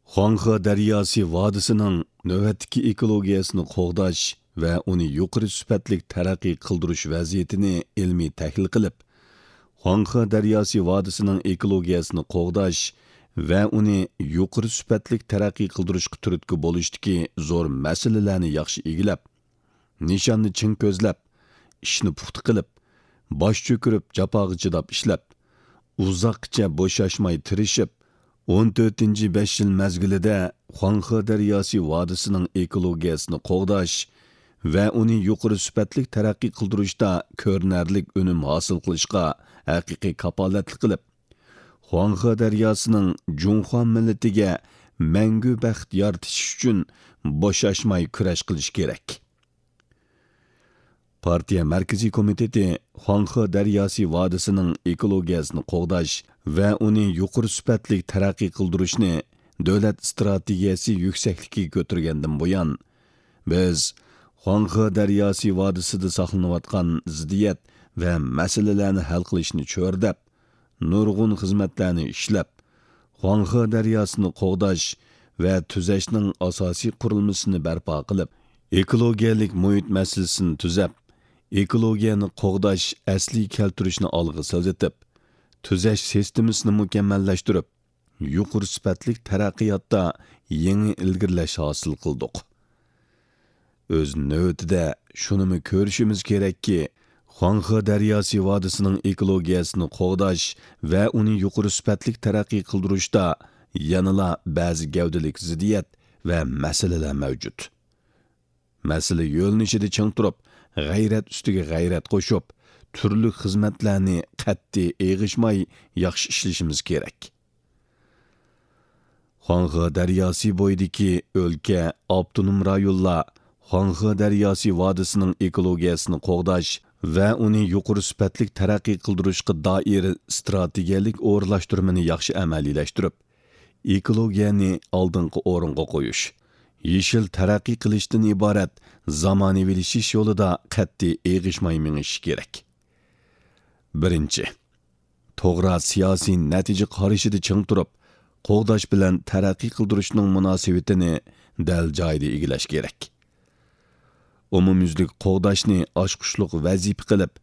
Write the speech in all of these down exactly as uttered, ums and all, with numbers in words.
خۇاڭخې دەرياسى ۋادىسىنىڭ نۆۋەتتىكى ئېكولوگىيەسىنى قوغداش ۋە ئۇنى يۇقىرى سۈپەتلىك تەرەققىي قىلدۇرۇش ۋەزىيىتىنى ئىلمىي تەھلىل قىلىپ، خۇاڭخې دەرياسى ۋادىسىنىڭ ئېكولوگىيەسىنى قوغداش ۋە ئۇنى يۇقىرى سۈپەتلىك تەرەققىي قىلدۇرۇشقا تۈرتكە بولۇشتىكى زور مەسىلىلەرنى ياخشى ئىگىلەپ، نىشاننى چىڭ كۆزلەپ، ئىشنى پۇختا قىلىپ، باش چۆكۈرۈپ، جاپاغا چىداپ ئىشلەپ، ئۇزاققىچە بوشاشماي تىرىشىپ، ئون تۆتىنچى بەش يىل مەزگىلىدە خۇاڭخې دەرياسى ۋادىسىنىڭ ئېكولوگىيەسىنى قوغداش ۋە ئۇنى يۇقىرى سۈپەتلىك تەرەققىي قىلدۇرۇشتا كۆرۈنەرلىك ئۈنۈم ھاسىل قىلىشقا ھەقىقىي كاپالەتلىك قىلىپ، خۇاڭخې دەرياسىنىڭ جۇڭخۇا مىللىتىگە مەڭگۈ بەخت يارىتىش ئۈچۈن بوشاشماي كۈرەش قىلىش كېرەك. پارتىيە مەركىزىي كومىتېتى خۇاڭخې دەرياسى ۋادىسىنىڭ ئېكولوگىيەسىنى قوغداش ۋە ئۇنى يۇقىرى سۈپەتلىك تەرەققىي قىلدۇرۇشنى دۆلەت ئىستراتېگىيەسى يۈكسەكلىكىگە كۆتۈرگەندىن بۇيان، بىز خۇاڭخې دەرياسى ۋادىسىدا ساقلىنىۋاتقان زىددىيەت ۋە مەسىلىلەرنى ھەل قىلىشنى چۆرىدەپ، نۇرغۇن خىزمەتلەرنى ئىشلەپ، خۇاڭخې دەرياسىنى قوغداش ۋە تۈزەشنىڭ ئاساسىي قۇرۇلمىسىنى بەرپا قىلىپ، ئېكولوگىيەلىك مۇھىت مەسىلىسىنى تۈزەپ، ئېكولوگىيەنى قوغداش، ئەسلىگە كەلتۈرۈشنى ئالغا سىلجىتىپ، تۈزەش سىستېمىسىنى مۇكەممەللەشتۈرۈپ، يۇقىرى سۈپەتلىك تەرەققىياتتا يېڭى ئىلگىرىلەش ھاسىل قىلدۇق. ئۆز نۆۋىتىدە شۇنىمۇ كۆرۈشىمىز كېرەككى، خۇاڭخې دەرياسى ۋادىسىنىڭ ئېكولوگىيەسىنى قوغداش ۋە ئۇنى يۇقىرى سۈپەتلىك تەرەققىي قىلدۇرۇشتا يەنىلا بەزى گەۋدىلىك زىددىيەت ۋە مەسىلىلەر مەۋجۇت. مەسىلە يۆنىلىشىدە چىڭ تۇرۇپ، غەيرەت ئۈستىگە غەيرەت قوشۇپ، تۈرلۈك خىزمەتلەرنى قەتئىي ئېغىشماي ياخشى ئىشلىشىمىز كېرەك. خۇاڭخې دەرياسى بويىدىكى ئۆلكە، ئاپتونوم رايونلار خۇاڭخې دەرياسى ۋادىسىنىڭ ئېكولوگىيەسىنى قوغداش ۋە ئۇنى يۇقىرى سۈپەتلىك تەرەققىي قىلدۇرۇشقا دائىر ئىستراتېگىيەلىك ئورۇنلاشتۇرمىنى ياخشى ئەمەلىيلەشتۈرۈپ، ئېكولوگىيەنى ئالدىنقى ئورۇنغا قويۇش، يېشىل تەرەققىي قىلىشتىن ئىبارەت زامانىۋىلىشىش يولىدا قەتئىي ئېغىشماي مېڭىشى كېرەك. بىرىنچى، توغرا سىياسىي نەتىجە قارىشىدا چىڭ تۇرۇپ، قوغداش بىلەن تەرەققىي قىلدۇرۇشنىڭ مۇناسىۋىتىنى دەل جايىدا ئىگىلەش كېرەك. ئومۇميۈزلۈك قوغداشنى ئاچقۇچلۇق ۋەزىپە قىلىپ،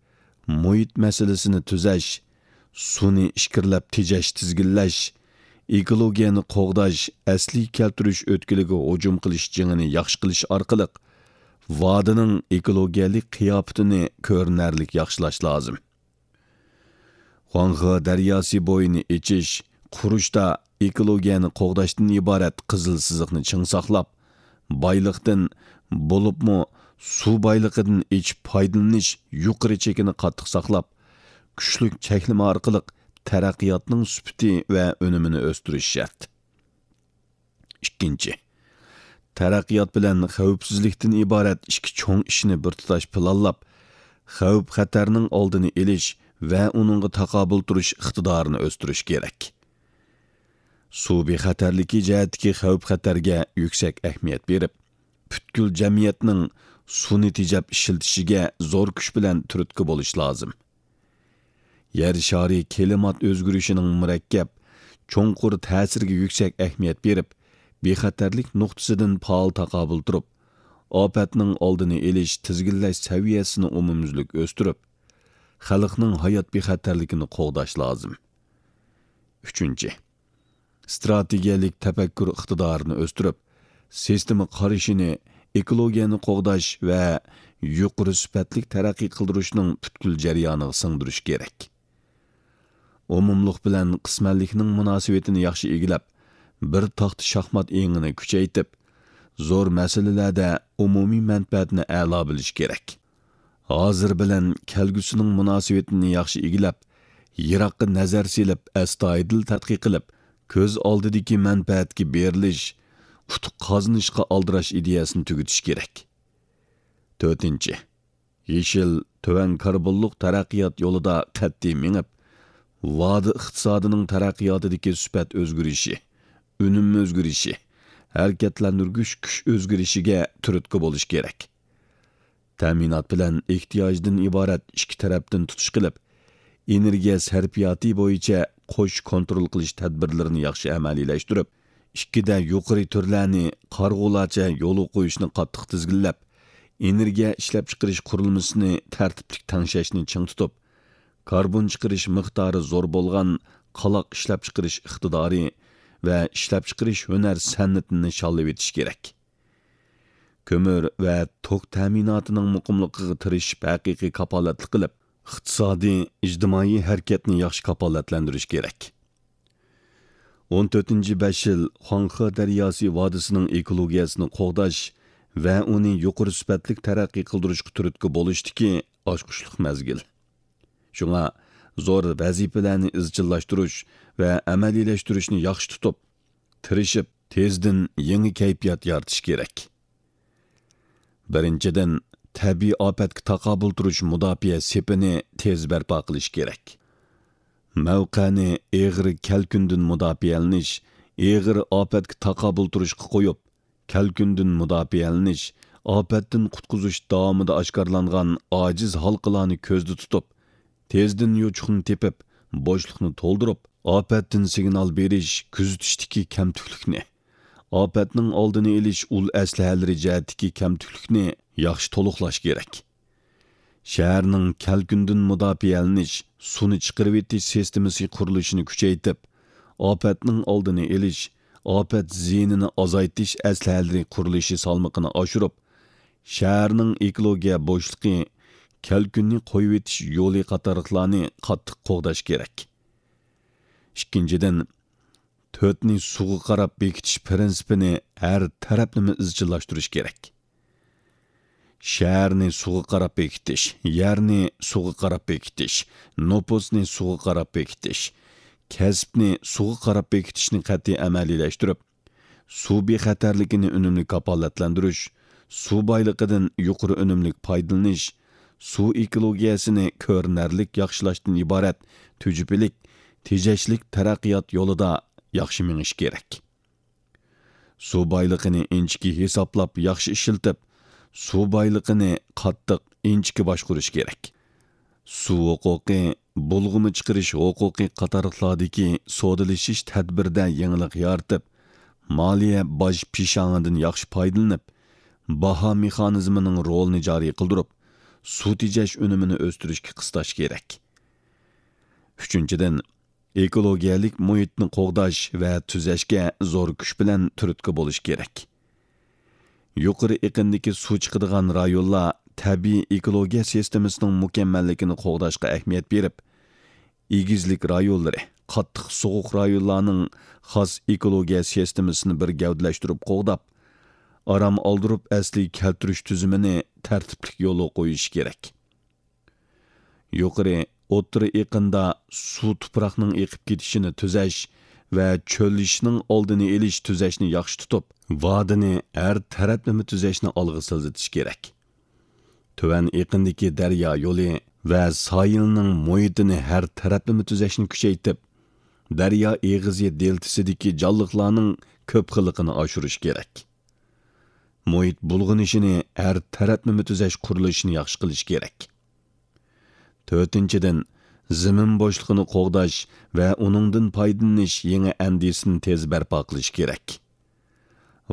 مۇھىت مەسىلىسىنى تۈزەش، سۇنى ئىچكىرىلەپ تېجەش، تىزگىنلەش، ئېكولوگىيەنى قوغداش، ئەسلىگە كەلتۈرۈش ئۆتكىلىگە ھۇجۇم قىلىش جېڭىنى ياخشى قىلىش ئارقىلىق، ۋادىنىڭ ئېكولوگىيەلىك قىياپىتىنى كۆرۈنەرلىك ياخشىلاش لازىم. خۇاڭخې دەرياسى بويىنى ئېچىش، قۇرۇشتا ئېكولوگىيەنى قوغداشتىن ئىبارەت قىزىل سىزىقنى چىڭ ساقلاپ، بايلىقتىن، بولۇپمۇ سۇ بايلىقىدىن ئېچىپ پايدىلىنىش يۇقىرى چېكىنى قاتتىق ساقلاپ، كۈچلۈك چەكلىمە ئارقىلىق تەرەققىياتنىڭ سۈپىتى ۋە ئۈنۈمىنى ئۆستۈرۈش شەرت. ئىككىنچى، تەرەققىيات بىلەن خەۋپسىزلىكتىن ئىبارەت ئىككى چوڭ ئىشنى بىر تۇتاش پىلانلاپ، خەۋپ-خەتەرنىڭ ئالدىنى ئېلىش ۋە ئۇنىڭغا تاقابىل تۇرۇش ئىقتىدارىنى ئۆستۈرۈش كېرەك. سۇ بىخەتەرلىكى جەھەتتىكى خەۋپ-خەتەرگە يۈكسەك ئەھمىيەت بېرىپ، پۈتكۈل جەمئىيەتنىڭ سۇنى تېجەپ ئىشلىتىشىگە زور كۈچ بىلەن تۈرتكە بولۇش لازىم. يەر شارى كىلىمات ئۆزگىرىشىنىڭ مۇرەككەپ، چوڭقۇر تەسىرىگە يۈكسەك ئەھمىيەت بېرىپ، بىخەتەرلىك نۇقتىسىدىن پائال تاقابىل تۇرۇپ، ئاپەتنىڭ ئالدىنى ئېلىش، تىزگىنلەش سەۋىيەسىنى ئومۇميۈزلۈك ئۆستۈرۈپ، خەلقنىڭ ھايات بىخەتەرلىكىنى قوغداش لازىم. ئۈچىنچى، ئىستراتېگىيەلىك تەپەككۇر ئىقتىدارىنى ئۆستۈرۈپ، سىستېما قارىشىنى ئېكولوگىيەنى قوغداش ۋە يۇقىرى سۈپەتلىك تەرەققىي قىلدۇرۇشنىڭ پۈتكۈل جەريانىغا سىڭدۈرۈش كېرەك. ئومۇملۇق بىلەن قىسمەنلىكنىڭ مۇناسىۋىتىنى ياخشى ئىگىلەپ، بىر تاختا شاھمات ئېڭىنى كۈچەيتىپ، زور مەسىلىلەردە ئومۇمىي مەنپەئەتنى ئەلا بىلىش كېرەك. ھازىر بىلەن كەلگۈسىنىڭ مۇناسىۋىتىنى ياخشى ئىگىلەپ، يىراققا نەزەر سېلىپ، ئەستايىدىل تەتقىق قىلىپ، كۆز ئالدىدىكى مەنپەئەتكە بېرىلىش، ئۇتۇق قازىنىشقا ئالدىراش ئىدىيەسىنى تۈگىتىش كېرەك. تۆتىنچى، يېشىل، تۆۋەن كاربونلۇق تەرەققىيات يولىدا قەتئىي مېڭىپ، ۋادى ئىقتىسادىنىڭ تەرەققىياتىدىكى سۈپەت ئۆزگىرىشى، ئۈنۈم ئۆزگىرىشى، ھەرىكەتلەندۈرگۈچ كۈچ ئۆزگىرىشىگە تۈرتكە بولۇش كېرەك. تەمىنات بىلەن ئېھتىياجدىن ئىبارەت ئىككى تەرەپتىن تۇتۇش قىلىپ، ئېنېرگىيە سەرپىياتى بويىچە قوش كونترول قىلىش تەدبىرلىرىنى ياخشى ئەمەلىيلەشتۈرۈپ، ئىككىدە يۇقىرى تۈرلەرنى قارىغۇلارچە يولغا قويۇشنى قاتتىق تىزگىنلەپ، ئېنېرگىيە ئىشلەپچىقىرىش قۇرۇلمىسىنى تەرتىپلىك تەڭشەشنى چىڭ تۇتۇپ، كاربون چىقىرىش مىقدارى زور بولغان قالاق ئىشلەپچىقىرىش ئىقتىدارى ۋە ئىشلەپچىقىرىش ھۈنەر سەنئىتىنى نىشانلىۋېتىش كېرەك. كۆمۈر ۋە توك تەمىناتىنىڭ مۇقىملىقىغا تىرىشىپ ھەقىقىي كاپالەتلىك قىلىپ، ئىقتىسادىي، ئىجتىمائىي ھەرىكەتنى ياخشى كاپالەتلەندۈرۈش كېرەك. ئون تۆتىنچى بەش يىل خۇاڭخې دەرياسى ۋادىسىنىڭ ئېكولوگىيەسىنى قوغداش ۋە ئۇنى يۇقىرى سۈپەتلىك تەرەققىي قىلدۇرۇشقا تۈرتكە بولۇشتىكى ئاچقۇچلۇق مەزگىل. شۇڭا زور ۋەزىپىلەرنى ئىزچىللاشتۇرۇش ۋە ئەمەلىيلەشتۈرۈشنى ياخشى تۇتۇپ، تىرىشىپ، تېزدىن يېڭى كەيپىيات يارىتىش كېرەك. بىرىنچىدىن، تەبىئىي ئاپەتكە تاقابىل تۇرۇش مۇداپىئە سېپىنى تېز بەرپا قىلىش كېرەك. مەۋقەنى ئېغىر كەلكۈندىن مۇداپىئەلىنىش، ئېغىر ئاپەتكە تاقابىل تۇرۇشقا قويۇپ، كەلكۈندىن مۇداپىئەلىنىش، ئاپەتتىن قۇتقۇزۇش داۋامىدا ئاشكارىلانغان ئاجىز ھالقىلارنى كۆزدە تۇتۇپ، تېزدىن يوچۇقنى تېپىپ، بوشلۇقنى تولدۇرۇپ، ئاپەتتىن سىگنال بېرىش، كۆزىتىشتىكى كەمتۈكلۈكنى، ئاپەتنىڭ ئالدىنى ئېلىش ئۇل ئەسلىھەلىرى جەھەتتىكى كەمتۈكلۈكنى ياخشى تولۇقلاش كېرەك. شەھەرنىڭ كەلكۈندىن مۇداپىئەلىنىش، سۇنى چىقىرىۋېتىش سىستېمىسى قۇرۇلۇشىنى كۈچەيتىپ، ئاپەتنىڭ ئالدىنى ئېلىش، ئاپەت زىيىنىنى ئازايتىش ئەسلىھەلىرى قۇرۇلۇشى سالمىقىنى ئاشۇرۇپ، شەھەرنىڭ ئېكولوگىيە بوشلۇقى، كەلكۈننى قويۇۋېتىش يولى قاتارلىقلارنى قاتتىق قوغداش كېرەك. ئىككىنچىدىن، تۆتنى سۇغا قاراپ بېكىتىش پىرىنسىپىنى ھەر تەرەپلىمە ئىزچىللاشتۇرۇش كېرەك. شەھەرنى سۇغا قاراپ بېكىتىش، يەرنى سۇغا قاراپ بېكىتىش، نوپۇسنى سۇغا قاراپ بېكىتىش، كەسىپنى سۇغا قاراپ بېكىتىشنى قەتئىي ئەمەلىيلەشتۈرۈپ، سۇ بىخەتەرلىكىنى ئۈنۈملۈك كاپالەتلەندۈرۈش، سۇ بايلىقىدىن يۇقىرى ئۈنۈملۈك پايدىلىنىش، سۇ ئېكولوگىيەسىنى كۆرۈنەرلىك ياخشىلاشتىن ئىبارەت تۈجۈپىلىك، تېجەشلىك تەرەققىيات يولىدا ياخشى مېڭىش كېرەك. سۇ بايلىقىنى ئىنچىكە ھېسابلاپ ياخشى ئىشلىتىپ، سۇ بايلىقىنى قاتتىق، ئىنچىكە باشقۇرۇش كېرەك. سۇ ھوقۇقى، بۇلغىما چىقىرىش ھوقۇقى قاتارلىقلاردىكى سودىلىشىش تەدبىرىدە يېڭىلىق يارىتىپ، مالىيە باج پىشاڭىدىن ياخشى پايدىلىنىپ، باھا مېخانىزمىنىڭ رولىنى جارى قىلدۇرۇپ، سۇ تېجەش ئۈنۈمىنى ئۆستۈرۈشكە قىستاش كېرەك. ئۈچىنچىدىن، ئېكولوگىيەلىك مۇھىتنى قوغداش ۋە تۈزەشكە زور كۈچ بىلەن تۈرتكە بولۇش كېرەك. يۇقىرى ئېقىندىكى سۇ چىقىدىغان رايونلار تەبىئىي ئېكولوگىيە سىستېمىسىنىڭ مۇكەممەللىكىنى قوغداشقا ئەھمىيەت بېرىپ، ئېگىزلىك رايونلىرى، قاتتىق سوغۇق رايونلارنىڭ خاس ئېكولوگىيە سىستېمىسىنى بىر گەۋدىلەشتۈرۈپ قوغداپ، ئارام ئالدۇرۇپ ئەسلىگە كەلتۈرۈش تۈزۈمىنى تەرتىپلىك يولغا قويۇشى كېرەك. يۇقىرى، ئوتتۇرا ئېقىندا سۇ تۇپراقنىڭ ئېقىپ كېتىشىنى تۈزەش ۋە چۆللىشىشنىڭ ئالدىنى ئېلىش تۈزەشنى ياخشى تۇتۇپ، ۋادىنى ھەر تەرەپلىمە تۈزەشنى ئالغا سىلجىتىش كېرەك. تۆۋەن ئېقىندىكى دەريا يولى ۋە ساھىلنىڭ مۇھىتىنى ھەر تەرەپلىمە تۈزەشنى كۈچەيتىپ، دەريا ئېغىزى دېلتىسىدىكى جانلىقلارنىڭ كۆپ خىللىقىنى ئاشۇرۇش كېرەك. مۇھىت بۇلغىنىشىنى ھەر تەرەپلىمە تۈزەش قۇرۇلۇشىنى ياخشى قىلىش كېرەك. تۆتىنچىدىن، زېمىن بوشلۇقىنى قوغداش ۋە ئۇنىڭدىن پايدىلىنىش يېڭى ئەندىزىسىنى تېز بەرپا قىلىش كېرەك.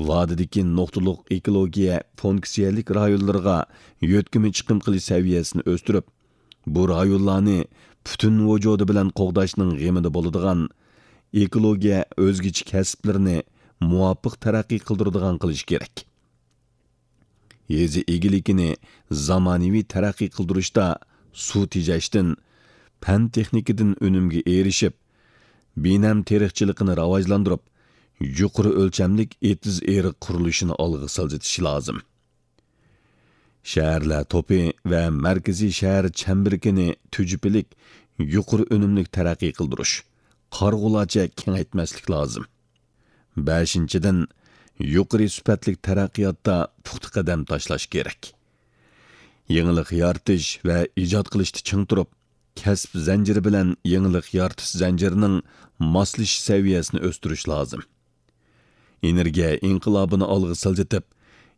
ۋادىدىكى نۇقتىلىق ئېكولوگىيە فۇنكسىيەلىك رايونلىرىغا يۆتكىمە چىقىم قىلىش سەۋىيەسىنى ئۆستۈرۈپ، بۇ رايونلارنى پۈتۈن ۋۇجۇدى بىلەن قوغداشنىڭ غېمىدە بولىدىغان ئېكولوگىيە ئۆزگىچە كەسىپلىرىنى مۇۋاپىق تەرەققىي قىلدۇرىدىغان قىلىش كېرەك. يېزا ئىگىلىكىنى زامانىۋى تەرەققىي قىلدۇرۇشتا سۇ تېجەشتىن، پەن تېخنىكىدىن ئۈنۈمگە ئېرىشىپ، بىنەم تېرىقچىلىقىنى راۋاجلاندۇرۇپ، يۇقىرى ئۆلچەملىك ئېتىز ئېرىق قۇرۇلۇشىنى ئالغا سىلجىتىش لازىم. شەھەرلەر توپى ۋە مەركىزىي شەھەر چەمبىرىكىنى تۈجۈپىلىك، يۇقىرى ئۈنۈملۈك تەرەققىي قىلدۇرۇش، قارىغۇلارچە كېڭەيتمەسلىك لازىم. بەشىنچىدىن، يۇقىرى سۈپەتلىك تەرەققىياتتا پۇختا قەدەم تاشلاش كېرەك. يېڭىلىق يارىتىش ۋە ئىجاد قىلىشتا چىڭ تۇرۇپ، كەسىپ زەنجىرى بىلەن يېڭىلىق يارىتىش زەنجىرىنىڭ ماسلىشىش سەۋىيەسىنى ئۆستۈرۈش لازىم. ئېنېرگىيە ئىنقىلابىنى ئالغا سىلجىتىپ،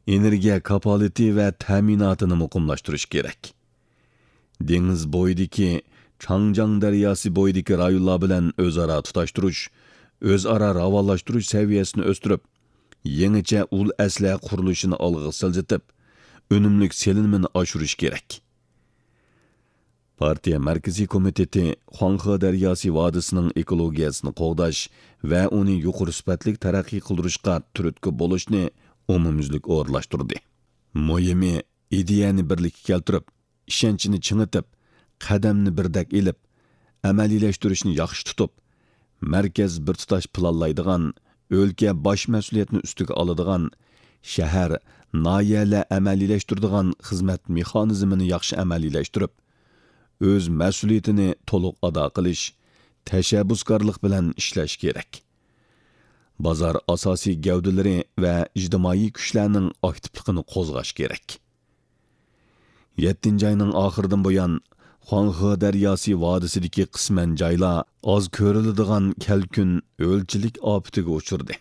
ئېنېرگىيە كاپالىتى ۋە تەمىناتىنى مۇقىملاشتۇرۇش كېرەك. دېڭىز بويىدىكى، چاڭجياڭ دەرياسى بويىدىكى رايونلار بىلەن ئۆزئارا تۇتاشتۇرۇش، ئۆزئارا راۋانلاشتۇرۇش سەۋىيەسىنى ئۆستۈرۈپ، يېڭىچە ئۇل ئەسلىھە قۇرۇلۇشىنى ئالغا سىلجىتىپ، ئۈنۈملۈك سېلىنمىنى ئاشۇرۇش كېرەك. پارتىيە مەركىزىي كومىتېتى خۇاڭخې دەرياسى ۋادىسىنىڭ ئېكولوگىيەسىنى قوغداش ۋە ئۇنى يۇقىرى سۈپەتلىك تەرەققىي قىلدۇرۇشقا تۈرتكە بولۇشنى ئومۇميۈزلۈك ئورۇنلاشتۇردى. مۇھىمى، ئىدىيەنى بىرلىككە كەلتۈرۈپ، ئىشەنچنى چىڭىتىپ، قەدەمنى بىردەك ئېلىپ، ئەمەلىيلەشتۈرۈشنى ياخشى تۇتۇپ، مەركەز بىر تۇتاش پىلانلايدىغان، ئۆلكە باش مەسئۇلىيەتنى ئۈستىگە ئالىدىغان، شەھەر، ناھىيەلەر ئەمەلىيلەشتۈرىدىغان خىزمەت مېخانىزمىنى ياخشى ئەمەلىيلەشتۈرۈپ، ئۆز مەسئۇلىيىتىنى تولۇق ئادا قىلىش، تەشەببۇسكارلىق بىلەن ئىشلەش كېرەك. بازار ئاساسىي گەۋدىلىرى ۋە ئىجتىمائىي كۈچلەرنىڭ ئاكتىپلىقىنى قوزغاش كېرەك. يەتتىنچى ئاينىڭ ئاخىرىدىن بۇيان، خۇاڭخې دەرياسى ۋادىسىدىكى قىسمەن جايلار ئاز كۆرۈلىدىغان كەلكۈن، ھۆلچىلىك ئاپىتىگە ئۇچرىدى.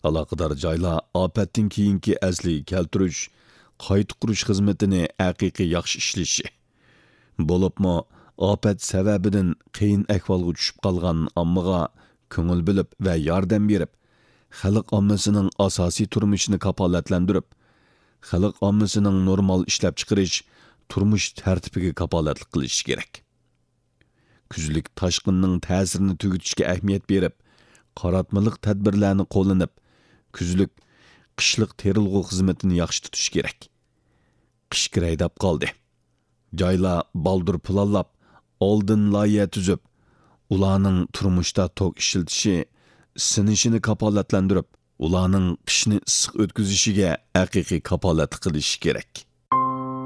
ئالاقىدار جايلار ئاپەتتىن كېيىنكى ئەسلىگە كەلتۈرۈش، قايتا قۇرۇش خىزمىتىنى ھەقىقىي ياخشى ئىشلىشى، بولۇپمۇ ئاپەت سەۋەبىدىن قىيىن ئەھۋالغا چۈشۈپ قالغان ئاممىغا كۆڭۈل بۆلۈپ ۋە ياردەم بېرىپ، خەلق ئاممىسىنىڭ ئاساسىي تۇرمۇشىنى كاپالەتلەندۈرۈپ، خەلق ئاممىسىنىڭ نورمال ئىشلەپچىقىرىش، تۇرمۇش تەرتىپىگە كاپالەتلىك قىلىشى كېرەك. كۈزلۈك تاشقىننىڭ تەسىرىنى تۈگىتىشكە ئەھمىيەت بېرىپ، قاراتمىلىق تەدبىرلەرنى قوللىنىپ، كۈزلۈك، قىشلىق تېرىلغۇ خىزمىتىنى ياخشى تۇتۇش كېرەك. قىش كىرەي دەپ قالدى. جايلار بالدۇر پىلانلاپ، ئالدىن لايىھە تۈزۈپ، ئۇلارنىڭ تۇرمۇشتا توك ئىشلىتىشى، ئىسسىنىشىنى كاپالەتلەندۈرۈپ، ئۇلارنىڭ قىشنى ئىسسىق ئۆتكۈزۈشىگە ھەقىقىي كاپالەتلىك قىلىشى كېرەك.